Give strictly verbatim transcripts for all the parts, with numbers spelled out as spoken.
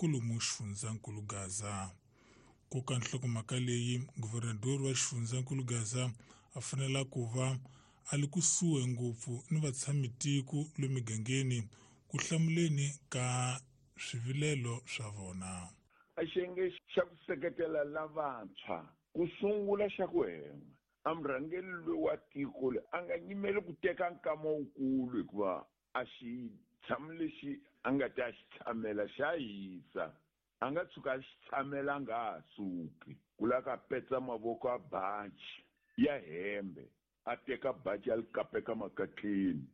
kolomu xifundzankulu Gaza. Ku ka nhlokomhaka leyi, guvernador wa xifundzankulu Gaza a fanela ku va a li kusuhi ngopfu ni vatshamitiko le migangeni ku hlamuleni ka swivilelo swa vona. A xiyenge xa ku seketela lavantshwa ku sungula xa ku hen'we a murhangeri loyi wa tiko le a nga nyimeli ku teka nkama wukulu hikuva a xi tshami lexi a nga ta xi tshamela xa hisa a nga tshuka a xi tshamela a nga ha suki ku lava ka petsa mavoko a baji ya hembe a teka baji a li kapeka makatleni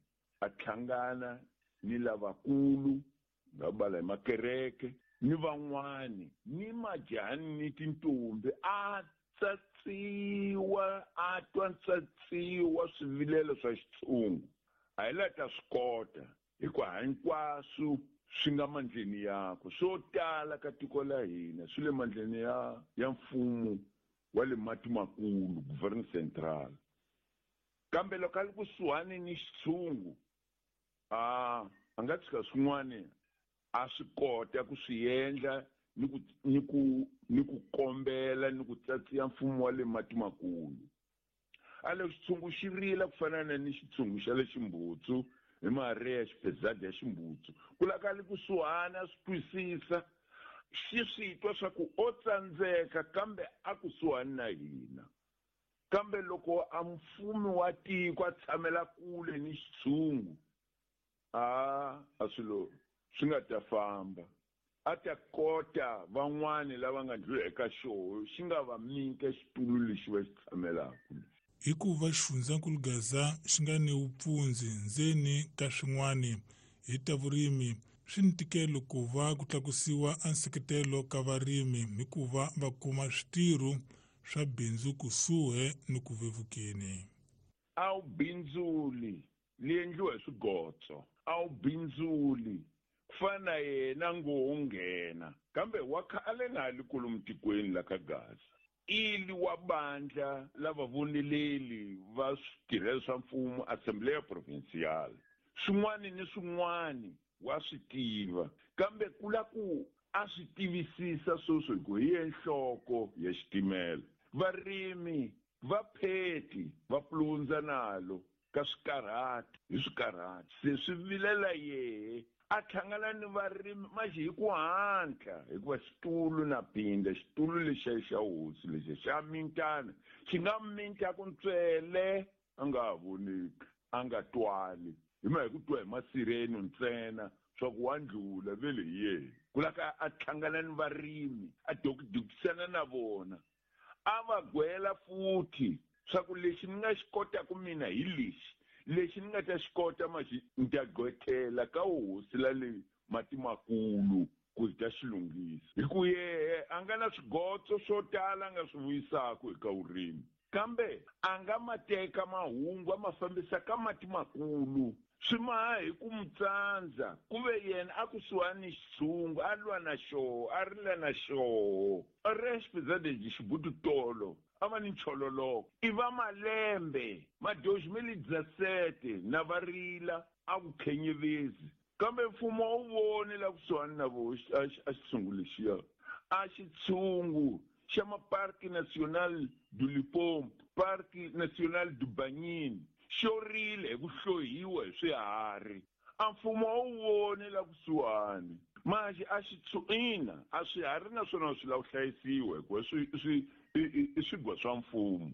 a hlangana ni lavakulu nga bala hi makereke ni van'wani ni majahani ni tintombi a tsatsiwa a twa tsatsiwa swivilelo swa xitshungu a hi la ta swi kota hikuva hinkwaswo swi nga mandleni yakwe swo tala ka tiko la hina swi le mandleni ya ya mfumo wa le mati makulu governo central kambe loko a li kusuhani ni xitshungu a a nga tshika swin'wani a swi kota ku swi endla ni ku ni ku ni ku kombela ni ku tsatsiya mfumo wa le mati makulu a le xitshungu xi rila ku fana na ni xitshungu xa le ximbutsu hi maria xipezadi ya ximbutsu ku laka li kusuhani a swi twisisa xi swi twa swa ku o tsandzeka kambe a kusuhani na hina kambe loko a mfumi wa tiko a tshamela kule ni xitshungu a a swilo swi nga ta famba a ta kota van'wani lava nga ndlula eka xoho xi nga va mika xitulu lexi va xi tshamelaka hikuva xifundzankulu Gaza xi nga ni vupfundzi ndzeni ka swin'wani hi ta vurimi swi ni ntikelo ku va ku tlakusiwa a nseketelo ka varimi hikuva va kuma switirho swa bindzu kusuhi ni ku vevukeni. A wu bindzuli li endliwa hi swigotso a wu bindzuli ku fana na yena ngo wo nghena kambe wa khale na li kolomu tikweni la ka Gaza ili wa bandla lava voneleli va switirhelo swa mfumo Assembleia Provincial swin'wani ni swin'wani wa swi tiva kambe ku la ku a swi tivisisa sweswo hi ku hi ye nhloko ya xitimela varimi va pheti va pulundza nalo ka swikarhati hi swikarhati se swi vilela yehe a hlangana ni varimi maxi hi ku hatla hikuva xitulu na pinda xitulu lexiya xa hosi lexiya xa mintana xi nga minta ku ntswele a nga ha voneki a nga twali hi ma hi ku twa hi masirheni ntsena swa ku wa ndlula vele hi yena ku la ka a hlangana ni varimi a dokidokisana na vona a va gwela futhi swa ku lexi ni nga xi kotaka mina hi lexi lexi ni nga ta xi kota maxi ni ta gqwethela ka hosi la le mati makulu ku hi ta xi lunghisa hi ku yehe a nga na swigotso swo tala a nga swi vuyisaka eka vurimi kambe a nga ma teka mahungu a ma fambisa ka mati makulu swi maha hi ku mu tsandza ku ve yena a kusuhani ni xitshungu a lwa na xoho a rila na xoho a ri xipizadezi xibutu tolo a va ni nchololoko i va malembe ma dois mil e dezessete na va rila a ku khenyevezi kambe mfumo a wu voni la kusuhani na vo a xitshungu lexiya a xitshungu xa ma Parque Nacional do Limpopo Parque Nacional do Banhine xo rile hi ku hlohiwa hi swiharhi a mfumo a wu voni la kusuhani manje a xi ina a swiharhi naswona swi lava ku hlayisiwa hikuva swi swi i swigwa swa mfumo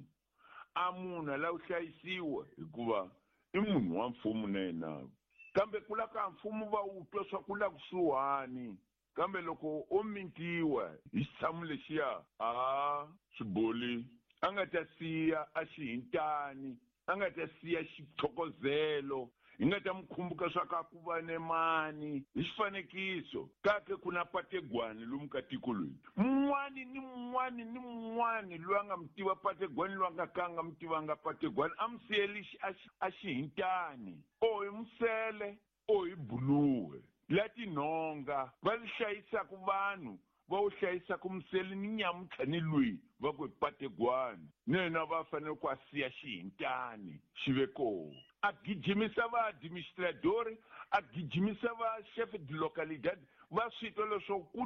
a munhu a lava ku hlayisiwa hikuva i munhu wa mfumo na yena kambe ku la ka mfumo va wu twa swa ku la kusuhani kambe loko o mintiwa hi xitshamo lexiya a swiboli a nga ta siya a xi hintani a nga ta siya xithokozelo hi nga ta mi khumbuka swa ka ku va ne mani hi xifanekiso kake ku na pategwani lomu ka tiko loyi mun'wani ni mun'wani ni mun'wani loyi a nga mi tiva pategwani loyi a nga ka a nga mi tivanga pategwani a mi siyeli a xi hintani o hi musele o hi buluwe la tinhonga va li hlayisaka vanhu va wu hlayisaka musele ni nyamuntlha ni lwiyi va ku hi pategwani ni yena va fanele ku a siya xihintani xi ve koho a gijimisa va administradori a gijimisa va chef de localidade va swi twa leswaku ku